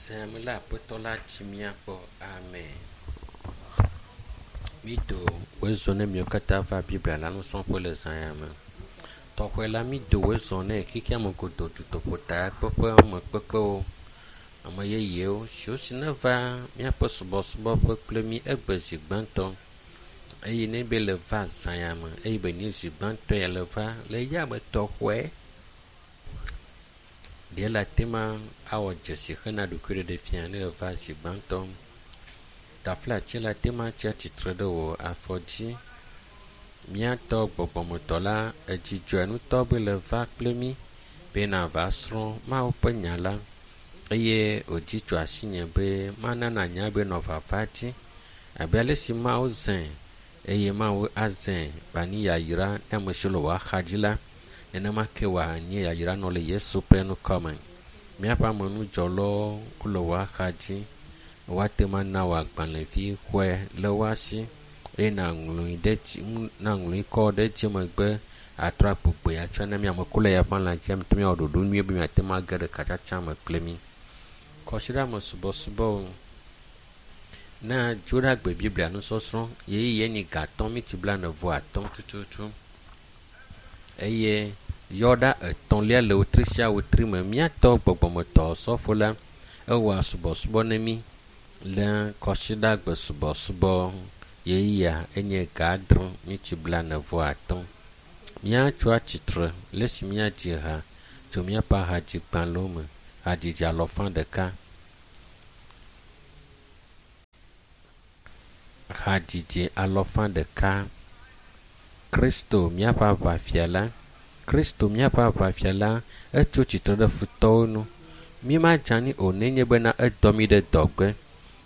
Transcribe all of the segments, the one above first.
Zã me la Aƒetɔ la tsi mía gbɔ. Amen. Mído wòezɔ ne miwo katã va Biblia la nusrɔ̃ƒe le zã ya me. Tɔxɛ la mído wòezɔ ne xexea me godoo dutoƒotakpeƒe ame kpekpewo, ame yeyewo siwo si neva míaƒe subɔsubɔƒe kple mí egbe zi gbãtɔ eye ne be le va zã ya me eye be nye zi gbãtɔ ya le va le ya me tɔxɔe ɖe le ate ma awɔ dzesi hena ɖokuiɖeɖe fia ne eva zi gbãtɔ. Taflatse le ate ma tsi atsitre ɖe wò afɔ dzi. Míatɔ gbɔgbɔmetɔ la edzidzɔe ŋutɔ be le va kple mí be nava srɔ̃ Mawu ƒe nya la eye wòdzi tso asinye be mana nanya be nɔ vava dzi abe ale si Mawu zãe eye Mawu azãe wòanye yayra ne ame siwo le wò axadzi la nenema ke wòanye yayra nɔ le Yesu ƒe ŋkɔ me. Míaƒe amenudzɔlawo wole wò axadzi woate ŋu ana wò agbalẽvi xɔe le woa si eye nàŋlɔe ɖe dzi nàŋlɔe kɔ ɖe dzi megbe atrɔ agbugbɔe atsɔ na mí ame le ya ƒe alã dzi míate ŋu awɔ ɖoɖo nyuie be miate ŋu age ɖe katsatsa me kple mí. Kɔsiɖame subɔsubɔwo na Dzoɖagbe Biblia nusɔsrɔ̃ ɣeyiɣi enyi ga atɔ̃ miti blaene vɔ atɔ̃ tututu eye yɔɖa etɔ̃lia le wotri sia wotri me míatɔ gbɔgbɔmetɔ sɔfo la ewɔa subɔsubɔ ne mí le kɔsiɖagbe subɔsubɔ ɣeyiɣia enye ga adre miti blaene vɔ atɔ̃. Míatso atsitre le esi míadzi ha tso míaƒe ahadzigbalẽwo me hadzidzi alɔfa ɖeka. Hadzidzi alɔfa ɖeka. Kristo míaƒe aʋafia la, Kristo míaƒe aʋafia la etso tsitre ɖe futɔwo nu. Mímadze anyi o nenye bena edɔ mí ɖe dɔgbe.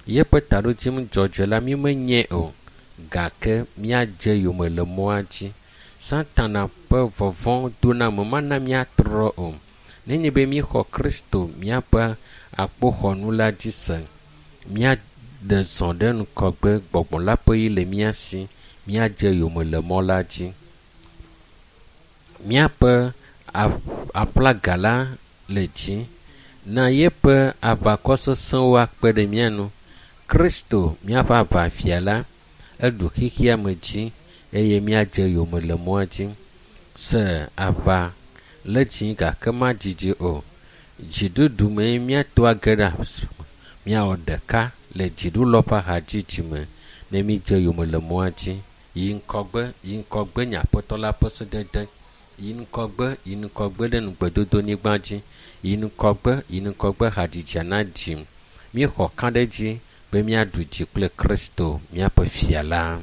Yeƒe taɖodzinu dzɔdzɔe la mímenyae o gake míadze yome le mɔa dzi. Satana ƒe vɔvɔ̃ doname mana míatrɔ o. Nenye be míexɔ Kristo míaƒe akpoxɔnu la dzi se, míaɖe zɔ ɖe ŋgɔgbe gbɔgbɔ la ƒe ɣi le mía si míadze yome le mɔ la dzi. Míaƒe aƒlaga la le dzi na yeƒe aʋakɔ sesẽwo akpe ɖe mía nu. Kristo míaƒe aʋafia la eɖu xexea me dzi eye míadze yome le mɔa dzi. Se aʋa le dzi gake madzidzi o. Dziɖuɖu mee míato age ɖe míawɔ ɖeka le dziɖulɔ ƒe ahadzidzi me ne mídze yome le mɔa dzi. Yi ŋgɔgbe, yi ŋgɔgbe nye aƒetɔ la ƒe sedede. Yi ŋgɔgbe, yi ŋgɔgbe ɖe nugbedodonyigba dzi. Yi ŋgɔgbe, yi ŋgɔgbe hadzidzia na dzim. Míexɔ ka ɖe edzi be míaɖu dzi kple Kristo míaƒe fia la.